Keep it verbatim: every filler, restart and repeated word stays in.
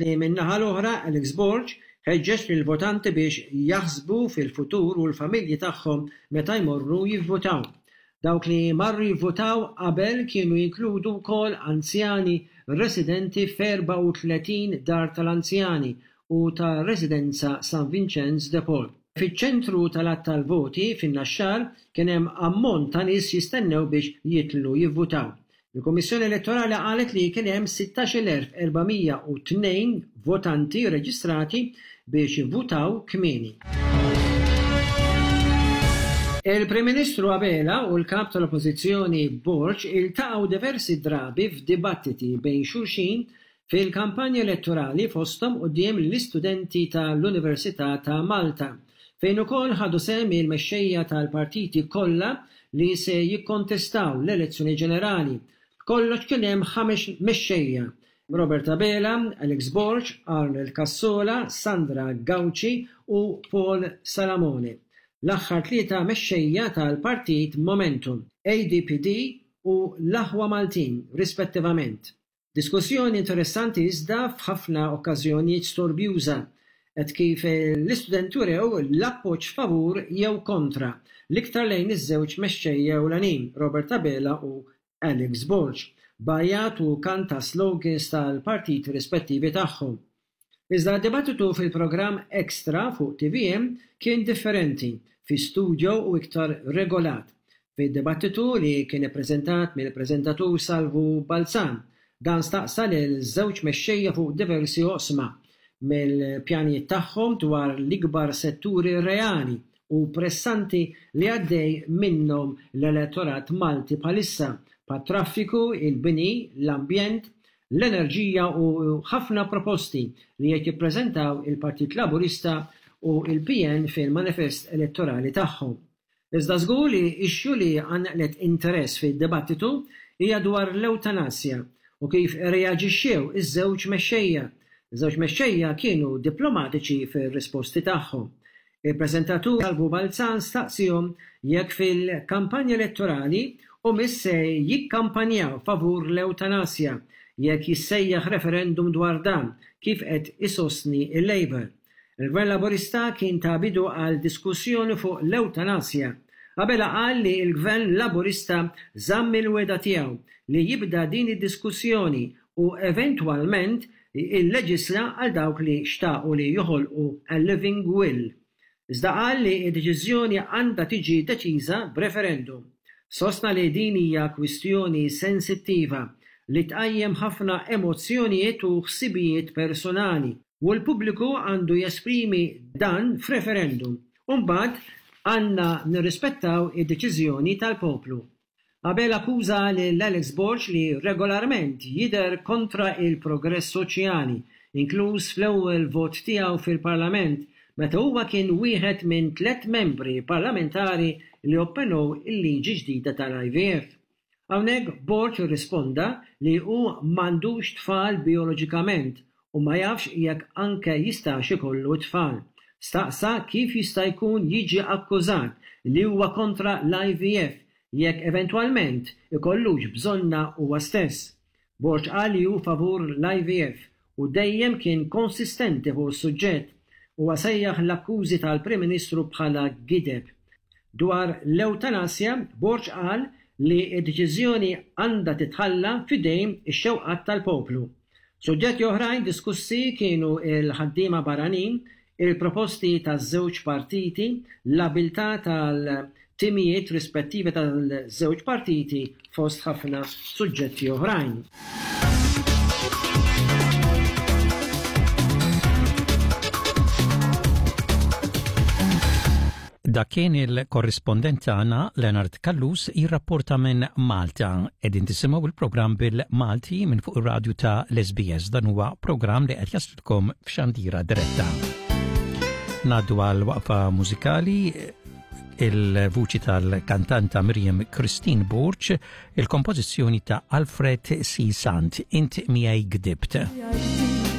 Filwaqt li min-naħa l-oħra Alex Borg ħeġġeġ lill-votanti biex jaħsbu fil-futur u l-familji tagħhom meta jmorru jivvutaw. Dawk li marru jivvutaw qabel kienu jinkludu wkoll anzjani residenti f'erbgħa u tletin dar tal-anzjani u ta' residenza San Vincenz de Paul. Fiċ-ċentru tal-għadd tal-voti fin-Naxxar kien hemm ammont ta' nies jistennew biex jidħlu jivvutaw. Il-Kummissjoni Elettorali qalet li kien hemm sittax-il elf erba' mija u tnejn votanti reġistrati biex jivvutaw kmieni. Il-Prim Ministru Abela u l-Kap tal-Oppożizzjoni Borg iltaqgħu diversi drabi f'dibattiti bejn xulxin fil-kampanja elettorali fosthom quddiem l-istudenti tal-Università ta' Malta, fejn ukoll ħadu sehem il-mexxejja tal-partiti kollha li se jikkontestaw l-elezzjoni ġenerali. B'kollox kien hemm ħames mexxejja, Robert Abela, Alex Borg, Arnold Cassola, Sandra Gauci u Paul Salamone. L-aħħar tlieta mexxejja tal-partit Momentum, A D P D u l-Aħwa Maltin, rispettivament. Diskussjoni interessanti iżda f'ħafna okkażjonijiet storbjuża, qed kif l-istudenti urew l-appoġġ favur jew kontra, l-iktar lejn iż-żewġ mexxejja ewlenin, Robert Abela u Alex Borg, bajat u kanta slogans tal-partiti rispettivi tagħhom. Iżda d-dibattitu fil-programm Extra fuq T V M kien differenti, fi studio u iktar regolat. Fid-dibattitu li kien ippreżentat mill-preżentatur Salvu Balzan, dan staqsa lil żewġ mexxejja fuq diversi oqsma mill-pjanijiet tagħhom dwar l-ikbar setturi reali u pressanti li għaddej minnhom l-elettorat Malti bħalissa, bħat-traffiku, il-bini, l-ambjent, l-enerġija u ħafna proposti li qed jippreżentaw il-Partit Laburista u il-P N fil-manifest elettorali tagħhom. Iżda żgur li issue li għanqlet interess fid-dibattitu hija dwar l-eutanasja u kif reaġixxew iż-żewġ mexxejja. Iż-żewġ mexxejja kienu diplomatiċi fir-risposti tagħhom. Il-preżentatur Salvu Balzan staqsihom jekk fil-kampanja elettorali u mis se jikkampanjaw favur l-eutanasja jekk jissejjaħ referendum dwar dan kif qed isostni il-Labour. Il-Gvern Laburista kien ta' bidu għal diskussjoni fuq l-eutanasja. Abela qal li l-Gvern Laburista żamm il-wegħda tiegħu li jibda din id-diskussjoni u eventwalment illeġisla għal dawk li xtaqu li joħolqu a living will. Iżda qal li d-deċiżjoni għandha tiġi deċiża b'referendum. Sostna li din hija kwistjoni sensittiva li tqajjem ħafna emozzjonijiet u ħsibijiet personali u l-pubbliku għandu jesprimi dan f'referendum. U mbagħad għandna nirrispettaw id-deċiżjoni tal-poplu. Abela akkuża lil Alex Borg li regolarment jidher kontra il-progress soċjali, inkluż fl-ewwel vot tiegħu fil-Parlament meta huwa kien wieħed minn tliet membri parlamentari li opponew il-liġi ġdida tal-I V F. Hawnhekk Borg irrisponda li hu m'għandux tfal bioloġikament u ma jafx jekk anke jistax ikollu tfal. Staqsa kif jista' jkun jiġi akkużat li huwa kontra l-I V F jekk eventwalment ikollux bżonna huwa stess. Borg qal li hu favur l-I V F u dejjem kien konsistenti fuq is-suġġett. Huwa sejjaħ l-akkużi tal-Prim Ministru bħala gideb. Dwar l-eutanasja, Borg qal li d-deċiżjoni għandha titħalla f'idejn ix-xewqat tal-poplu. Suġġetti oħrajn diskussi kienu il-ħaddiema barranin, il-proposti taż-żewġ partiti, l-abilità tal-timijiet rispettivi tal-żewġ partiti fost ħafna suġġetti oħrajn. Dak kien il-korrispondent tagħna Leonard Callus jirrapporta minn Malta. Qegħdin tisimgħu il-programm bil-Malti minn fuq ir-radju ta' l-S B S. Dan huwa programm li qed jaslilkom f'xandira diretta. Ngħaddu għal waqfa mużikali, il-vuċi tal-kantanta Miriam Christine Borg, il-kompożizzjoni ta' Alfred C. Sant, Int miegħi gdibt.